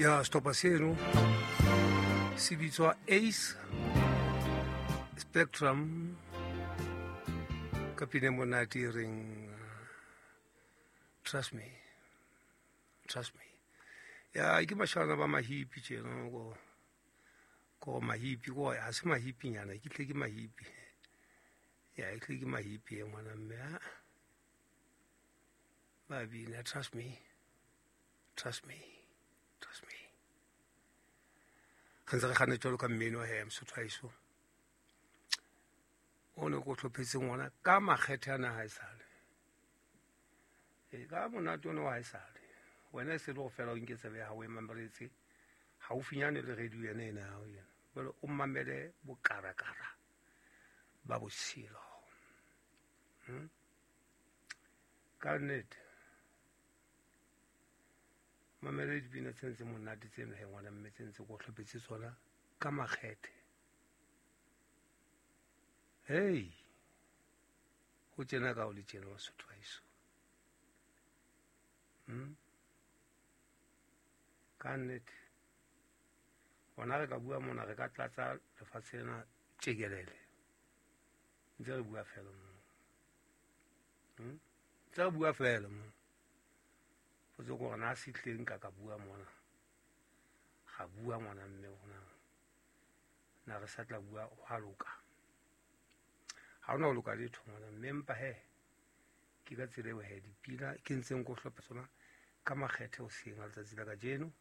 Ya setlhopha seno se bitswa Ace Spectrum ka pine monate e reng "Trust Me, Trust Me". Ya ke mashana ba mahipi tjena ko ko mahipi ko ha se mahipinyana ke tle ke mahipi ya e tle ke mahipi e ngwana mme a ba bina "Trust Me, Trust Me, Trust Me". Re ntse re kganne jwalo ka mmino he Mosotho haeso o ne ko tlhophetseng ona ka makgethe a naha e sale e ka monate one wa haesale wena e se le go fela o nke tsebe ya gago e mameletse gaufinyane le radio yene ena ya gago ena jale o mamele bokarakara ba botshelo. Ka nnete mamele dipina tse ntse monate tseno he ngwana mme tse ntse ko tlhophetse tsona ka makgethe. Hei, go tjena ka o le tjena Basotho haeso. Ka nnete gona re ka bua mona re ka tlatsa lefatshe lena tjekelele ntse re bua fela mo. Ntse re bua fela mo potse ko gore na se tleng ka bua mona ga bua ngwana mme gona na re sa tla bua go a loka ga ona go loka letho ngwana mme mpa he ke ka tsela eo he dipina ke ntseng ko hlopha tsona ka makgethe o seng a letsatsi la kajeno.